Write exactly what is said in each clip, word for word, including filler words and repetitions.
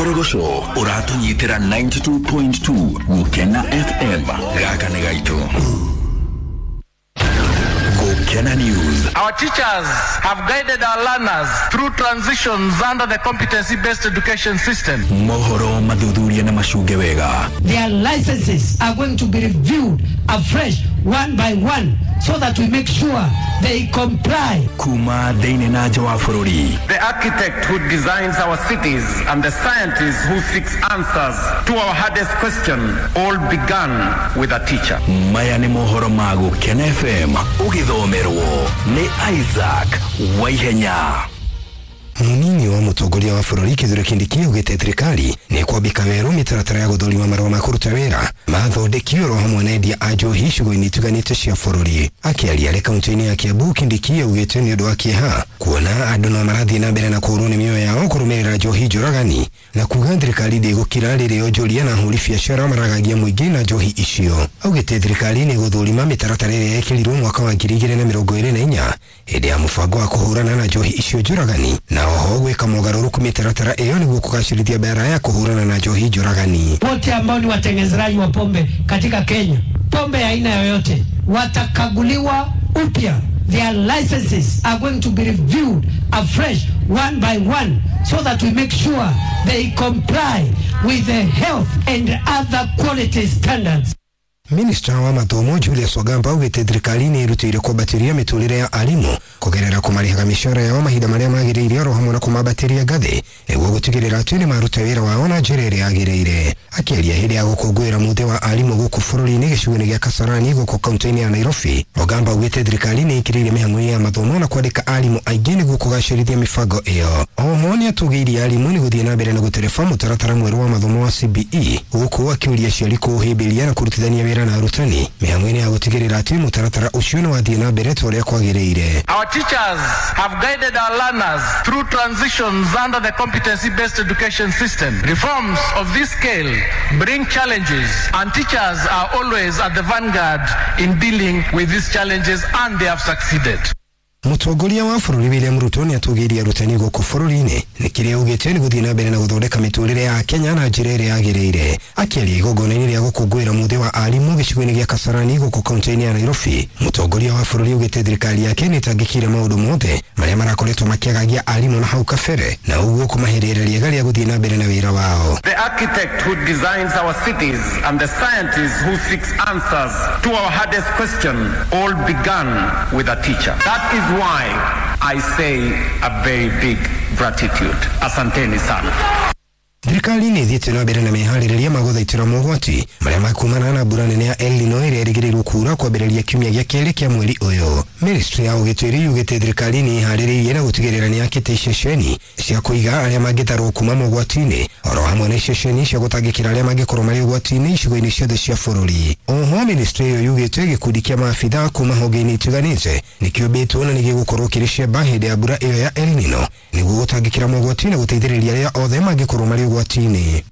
Korogoco ũratũnyitĩra ninety-two point two Gũkena F M. Gaka nĩ gaitũ. Gũkena News. Our teachers have guided our learners through transitions under the competency-based education system. Mohoro mathuthuria na macunge wega. Their licenses are going to be reviewed afresh one by one so that we make sure they comply. Kuma thĩinĩ na nja wa bũrũri. The architect who designs our cities and the scientist who seeks answers to our hardest question all began with a teacher. Maya nĩ mohoro ma Gũkena F M ũgĩthomerwo nĩ Isaac Waihenya. Munini wa mutongoria wa bũrũri Kithure Kindiki augĩte thirikari nĩ kwambĩka werũ mĩtaratara ya gũthũrima marũa ma kũruta wĩra mathondekio oro hamwe na endia a njohi icigo-inĩ itiganĩte cia bũrũri. Akĩaria arĩ kaunti-inĩ ya Kiambu, Kindiki augĩte nĩ ũndũ wa kĩeha kuona andũ no marathiĩ na mbere na kũũrwo nĩ mĩoyo yao kũrũmĩrĩra njohi njũragani na kuga thirikari ndĩgũkira rĩrĩa onjoria na ahũri biacara maragagia mũingĩ na njohi icio. Augĩte thirikari nĩ ĩgũthũrima mĩtaratara ĩrĩa yekĩrirwo mwaka wa ngiri igĩrĩ na mĩrongo ĩrĩ na inya hĩndĩ ya mũbango wa kũhũrana na njohi icio njũragani na oho gwĩka mogarũrũku mĩtaratara ĩyo nĩguo kũgacĩrithia biara ya kũhũrana na njohi njũragani. Wote ambao ni watengenezaji wa pombe katika Kenya, pombe ya aina yoyote, watakaguliwa upya. Their licenses are going to be reviewed afresh one by one so that we make sure they comply with the health and other quality standards. Minister wa mathomo Julius Ogamba augĩte thirikari nĩ ĩrutĩire kwambatĩria mĩtũrĩre ya arimũ kũgerera kũmarĩhaga mĩcara yao mahinda marĩa magĩrĩire oro hamwe na kũmambatĩria ngathĩ nĩguo gũtigĩrĩra atĩ nĩ maruta wĩra wao na njĩra ĩrĩa yagĩrĩire. Akĩaria hĩndĩ ya gũkũngũĩra mũthĩ wa arimũ gũkũ bũrũri-inĩ gĩcigo-inĩ gĩa Kasarani gũkũ kaunti-inĩ ya Nairobi, Ogamba augĩte thirikari nĩ ĩkĩrĩire mĩhang'o ya mathomo na kwandĩka arimũ aingĩ nĩguo kũgacĩrithia mĩbango ĩyo. Oho nĩ atũgĩirie arimũ nĩ gũthiĩ na mbere na gũtereba mũtaratara mwerũ wa mathomo wa C B E gũkũ akĩũria aciari kũũhĩmbĩria na kũrutithania wĩra na arutani mĩhang'o-inĩ ya gũtigĩrĩra atĩ mũtaratara ũcio nĩ wathiĩ na mbere ta ũrĩa kwagĩrĩire. Our teachers have guided our learners through transitions under the competency-based education system. Reforms of this scale bring challenges, and teachers are always at the vanguard in dealing with these challenges, and they have succeeded. Mũtongoria wa bũrũri William Ruto nĩ atũgĩirie arutani gũkũ bũrũri-inĩ nĩ kĩrĩa augĩte nĩ gũthiĩ na mbere na gũthondeka mĩtũrĩre ya Kenya na njĩra ĩrĩa yagĩrĩire. Akĩaria igongona-inĩ rĩa gũkũngũĩra mũthĩ wa arimũ gĩcigo-inĩ gĩa Kasarani gũkũ kaunti-inĩ ya Nairobi, mũtongoria wa bũrũri augĩte thirikari yake nĩ ĩtangĩkĩire maũndũ mothe marĩa marakoretwo makĩagagia arimũ na hau kabere na ũguo kũmahe rĩera rĩega rĩa gũthiĩ na mbere na wĩra wao. The architect who designs our cities and the scientist who seeks answers to our hardest question all began with a teacher. That is why I say a very big gratitude. Asanteni sana. Thirikari nĩ ĩthiĩte na mbere na meharĩrĩria ma gũthaitĩra mogwati marĩa makumana na mbura nene ya El Nino ĩrĩa ĩrĩgĩrĩirwo kuura kwambĩrĩria kiumia gĩa kerĩ kĩa mweri ũyũ. Ministry ya ũgitĩri yugĩte thirikari nĩ ĩharĩrĩirie na gũtigĩrĩra nĩ yakĩte iceceni cia kũiga arĩa mangĩtarwo kuma mogwati-inĩ oro hamwe na iceceni cia gũtangĩkĩra arĩa mangĩkorwo marĩ ũgwati-inĩ icigo-inĩ ciothe cia bũrũri. Oho ministry ĩyo yugĩte gĩkundi kĩa maabitha kuma honge-inĩ itiganĩte nĩkĩũmbĩtwo na nĩgĩgũkorwo kĩrĩ ciamba hĩndĩ ya mbura ĩyo ya El Nino nĩguo gũtangĩkĩra mogwati na gũteithĩrĩria arĩa othe mangĩkorwo marĩ ũgwati-inĩ.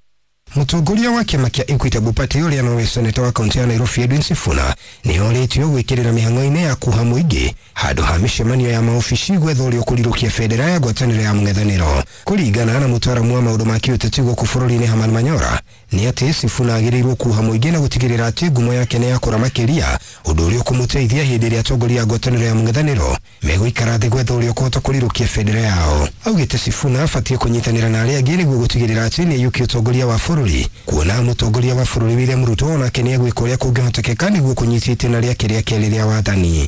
Mũtongoria wa kĩama kĩa Equitable Party ũrĩa nowe seneta wa kaunti ya Nairobi Edwin Sifuna nĩ orĩtio gwĩkĩrĩra mĩhang'o-inĩ ya kuha mũingĩ handũ ha mĩcemanio ya maobici gwetha ũrĩa ũkũrirũkia bendera ya ngwatanĩro ya mũng'ethanĩro. Kũringana na mũtaaramu wa maũndũ ma kĩũteti gũkũ bũrũri-inĩ Herman Manyora, nĩ atĩ Sifuna agĩrĩirwo kuha mũingĩ na gũtigĩrĩra atĩ ngumo yake nĩ yakũra makĩria, ũndũ ũrĩa ũkũmũteithia hĩndĩ ĩrĩa atongoria a ngwatanĩro ya mũng'ethanĩro megũikara thĩ gwetha ũrĩa ũkũhota kũrirũkia bendera yao. Augĩte Sifuna abatiĩ kũnyitanĩra na arĩa angĩ nĩguo gũtigĩrĩra atĩ nĩ aiyũkia ũtongoria wa bũrũri, kuona mũtongoria wa bũrũri William Ruto onake nĩ egwĩka ũrĩa kũngĩhotekeka nĩguo kũnyita itĩna rĩake rĩa kerĩ rĩa wathani.